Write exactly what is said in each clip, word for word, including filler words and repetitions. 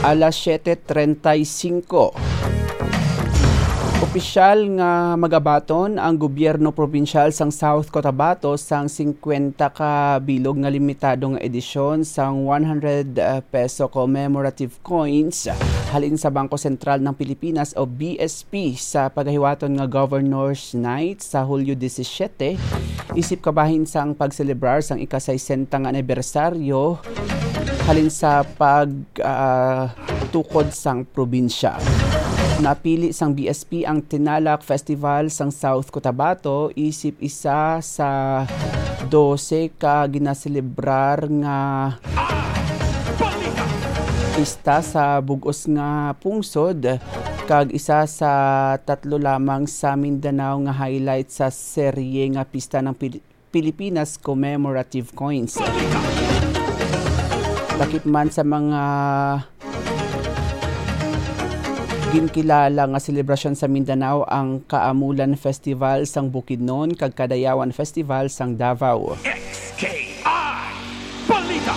Alas siete treinta y cinco. Opisyal nga magabaton ang gobyerno probinsyal sang South Cotabato sang singkwenta ka bilog nga limitado nga edisyon sang one hundred, uh, peso commemorative coins halin sa Bangko Sentral ng Pilipinas o B S P sa pagahiwaton nga Governor's Night sa Hulyo disisiete, isip kabahin sang pagselebrar sang ika-sesenta nga anibersaryo halin sa pag, ah, tukod sang probinsya. Napili sang B S P ang Tinalak Festival sang South Cotabato isip isa sa dose ka ginaselebrar nga pista sa bug-os nga pungsod, kag isa sa tatlo lamang sa Mindanao nga highlight sa serye nga pista ng Pil-, Pilipinas Commemorative Coins. Takip man sa mga ginkilala nga selebrasyon sa Mindanao ang Kaamulan Festival sang Bukidnon kag Kadayawan Festival sang Davao. X K I Balita.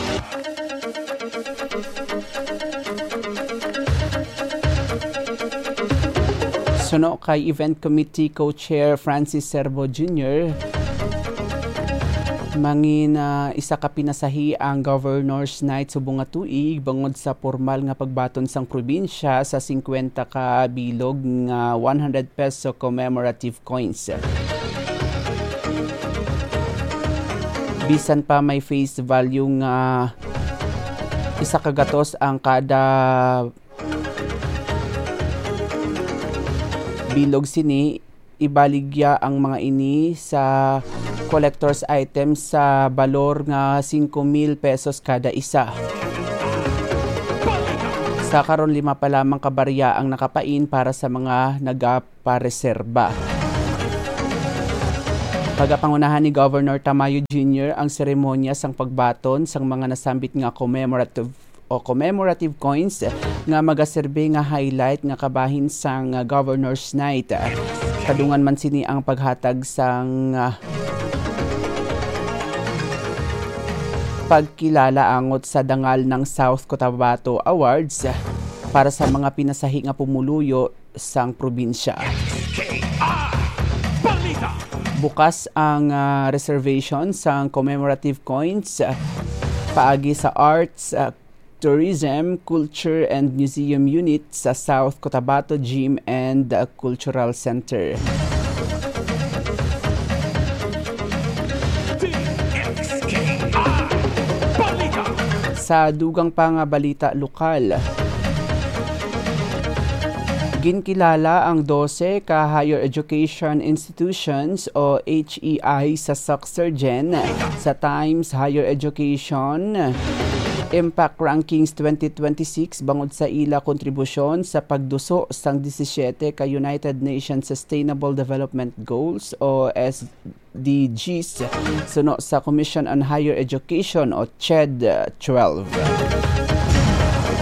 Suno kay Event Committee Co-Chair Francis Serbo Junior, mangin, ah, isa ka pinasahi ang Governor's Night subong nga tuig bangod sa pormal nga pagbaton sang probinsya sa singkwenta ka bilog nga one hundred peso commemorative coins. Bisan pa may face value nga isa ka gatos ang kada bilog sini, ibaligya ang mga ini sa collector's item sa balor nga singko mil pesos kada isa. Sa karon, lima pa lamang ka barya ang nakapain para sa mga nagapareserba. Pagapangunahan ni Governor Tamayo Junior ang seremonya sang pagbaton sang mga nasambit nga commemorative o commemorative coins nga magaserbi nga highlight nga kabahin sang, ah, Governor's Night. Kadungan man sini ang paghatag sang, ah, pagkilala angot sa dangal ng South Cotabato Awards para sa mga pinasahi nga pumuluyo sang probinsya. Bukas ang, ah, reservation sang commemorative coins, ah, paagi sa Arts, ah, Tourism, Culture and Museum Unit sa South Cotabato Gym and, uh, Cultural Center. Sa dugang pa nga balita lokal, ginkilala ang dose ka higher education institutions o H E I sa SOCSERGEN sa Times Higher Education Impact Rankings twenty twenty-six bangod sa ila kontribusyon sa pagduso sang disisiete ka United Nations Sustainable Development Goals o S D Gs, suno sa Commission on Higher Education o CHED twelve.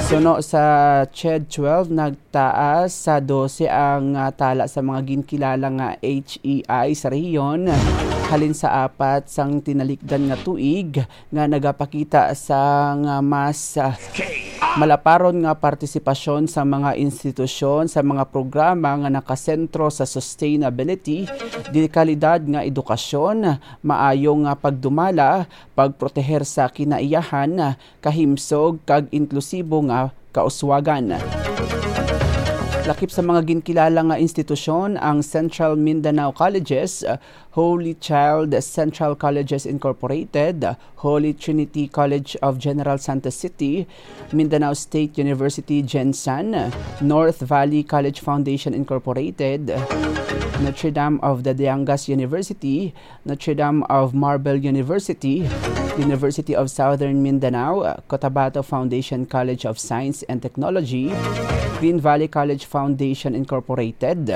Suno sa CHED twelve, nag taas sa dose ang, ah, tala sa mga ginkilala nga H E I sa rehiyon halin sa apat sang tinalikdan nga tuig nga nagapakita sa nga mas, ah, malaparon nga partisipasyon sa mga institusyon sa mga programa nga nakasentro sa sustainability, dekalidad nga edukasyon, maayo nga pagdumala, pagproteher sa kinaiyahan, kahimsog kag inklusibo nga kauswagan. Lakip sa mga ginkilala nga institusyon ang Central Mindanao Colleges, Holy Child Central Colleges Incorporated, Holy Trinity College of General Santos City, Mindanao State University GenSan, North Valley College Foundation Incorporated, Notre Dame of the Diangas University, Notre Dame of Marbel University, University of Southern Mindanao, Cotabato Foundation College of Science and Technology, Green Valley College Foundation Incorporated,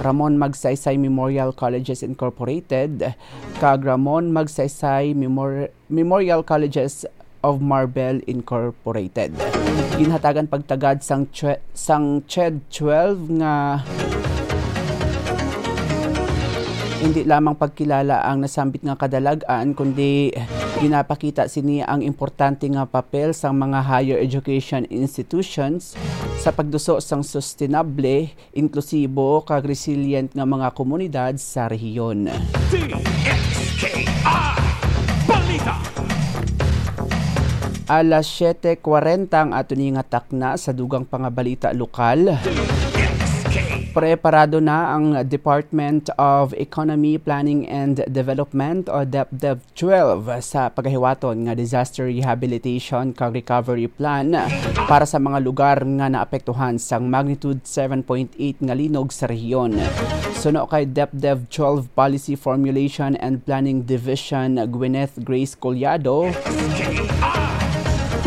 Ramon Magsaysay Memorial Colleges Incorporated, kag Ramon Magsaysay Memor-, Memorial Colleges of Marbel Incorporated. Ginhatagan pagtagad sang twe-, sang CHED twelve nga Hindi lamang pagkilala ang nasambit nga kadalag-an, kundi ginapakita sini ang importante nga papel sang mga higher education institutions sa pagduso sang sustainable, inklusibo, kag resilient nga mga komunidad sa rehiyon. D X K I Balita. Alas siete kwarenta ang ato ni nga takna sa dugang pangabalita lokal. D X K. Preparado na ang Department of Economy, Planning and Development o DepDev twelve sa pagahiwaton nga Disaster Rehabilitation kag Recovery Plan para sa mga lugar nga naapektuhan sang magnitude seven point eight nga linog sa rehiyon. Suno kay DepDev twelve Policy Formulation and Planning Division Gwyneth Grace Collado,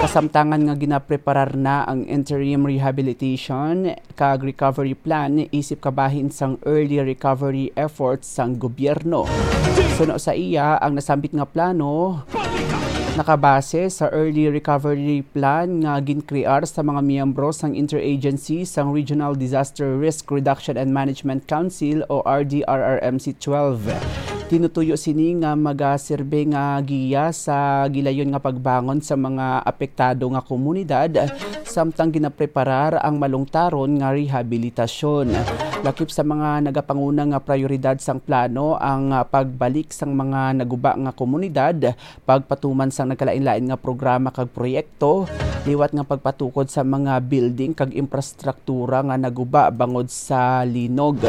kasamtangan nga ginapreparar na ang interim rehabilitation kag recovery plan isip kabahin sang early recovery efforts sang gobyerno. Suno sa iya, ang nasambit nga plano nakabase sa early recovery plan nga ginkrear sa mga miyembro sang Interagency sang Regional Disaster Risk Reduction and Management Council o R D R R M C twelve. Tinutuyo sini nga magasirbe nga giya sa gilayon nga pagbangon sa mga apektado nga komunidad, samtang ginapreparar ang malungtaron nga rehabilitasyon. Lakip sa mga nagapanguna nga prayoridad sang plano ang, ah, pagbalik sang mga naguba nga komunidad, pagpatuman sang nagkalain-lain nga programa kag proyekto, liwat nga pagpatukod sa mga building kag infrastruktura nga naguba bangod sa linog.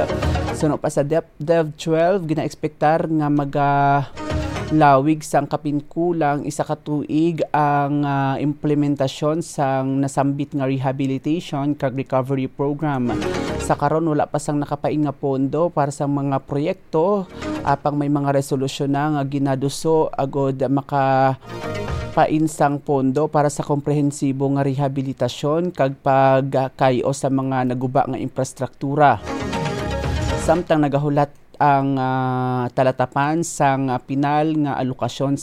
Suno pa sa DepDev twelve, ginaekspektar nga magalawig sang kapin kulang isa ka tuig ang, ah, implementasyon sang nasambit nga rehabilitation kag recovery program. Sa karon, wala pa sang nakapain nga pondo para sa mga proyekto, apang may mga resolusyon na nga ginaduso agud makapain sang pondo para sa komprehensibo nga rehabilitasyon kag pagkay-o sa mga naguba nga infrastruktura. Samtang nagahulat ang, ah, talatapan sang, ah, pinal nga alokasyon